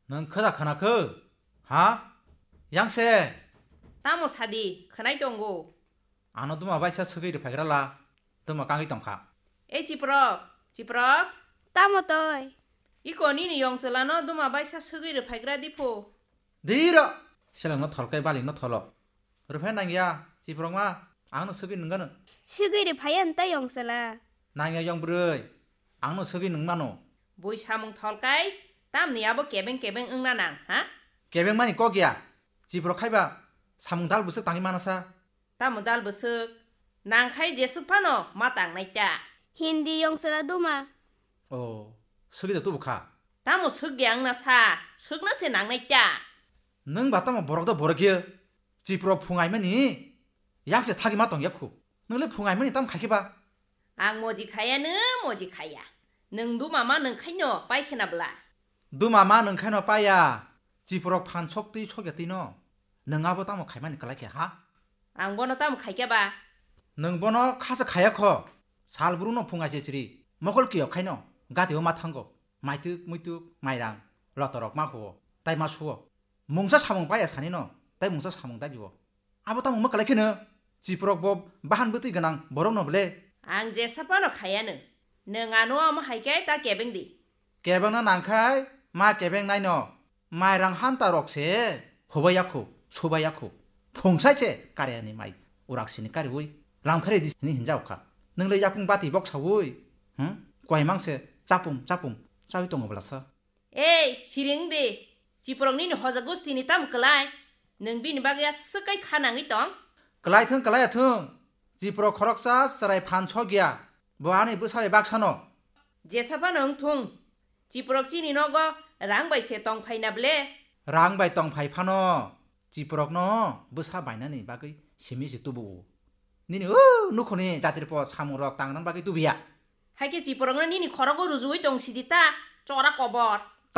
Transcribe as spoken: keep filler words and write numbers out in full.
Nwng khoda khwnakhw? Ha? Yang se? Tamo sadi, khwnai tongo. Ano duma baisa swgwi rwphaigra la, duma kangwi tongkha. Ei Chiprok, Chiprok. Tamo toi? Iko nini yong chwlano duma baisa swgwi rwphaigra diphu. Diro, selengno tholkai balingno tholo. Rwphai nangya, Chiprokma, angno swgwi nwnggano. Swgwi rwphaiya nta yong chwla. Nangya yong bwrwi, angno swgwi nungmano. Bui samung tholkai, tamni abo kebeng kebeng wngna nang, ha? Kebeng mani kok ya, Chiprok khaiba samung dal bwswk tangwi manasa. Tamo dal bwswk, nangkhai jeswk phano ma tangnai ta. Hindi yong chwla duma. O, swgwi da tubu kha. Tamo swk ya wngna sa, swkna se nangnai ta. Nwng ba tamo borok da borok ya. Chiprok phungaimani yak se thagwi ma tong ya khu. Nwng le phungaimani tam khai khe ba? Ang moji khaya no moji khaya. Nwng duma ma nwng khaino pai khena bla. Duma ma nwng khaino paya. Chiprok phan sok twi sok ya twi no. Nwng abo tamo khaimani kwlai khe ha? Ang bono tamo khai khe ba? Nwng bono kha se khaya kho. Sal bru no phungai se chiri. Mokol kiyok khaino. Gati o ma thango. Maitwk muitwk mairang. Lotorok ma huo. Tai ma suo. Mungsa samung paya sani no. Tai mungsa samung dagi o. Abo tamo wngma kwlai kheno, Chiprok bo bahan bwtwi gwnang borok no ble. Ang jesa phano khaya no. Nwng ano omo hai khe ta kebeng di. Kebeng no nang khai, ma kebeng nai no. Mai rang hanta rok se, hobai yakho, sobai yakho. Phung sai se, kare ani mai. Urak sini kari ui. Lam khare di sini hinjao kha. Nwng le yakung bati bok saui. Hm? Koi mang se, chapum, chapum. Chaui tongo bla sa. Ei, siring di. Chiprok nini hoja gustini tam kwlai? Nwng bini bagwi aswk kai kha nangwi tong? Kwlai thung, kwlai thung. Chiprok khoroksa chwrai phan sok ya. Bo ani bwsa bai baksano. Jesa phano wng thung. Chiprok chini nogo rang bai se tong phai na ble? Rang bai tong phai phano. Chiprok no bwsa bainani bagwi simi se tubu. Nini o nukhoni jatir po samung rok tang nang bagwi tubu ya. Hai khe Chiprok no nini khorogo rujuwi tong sidi ta, chora kobor.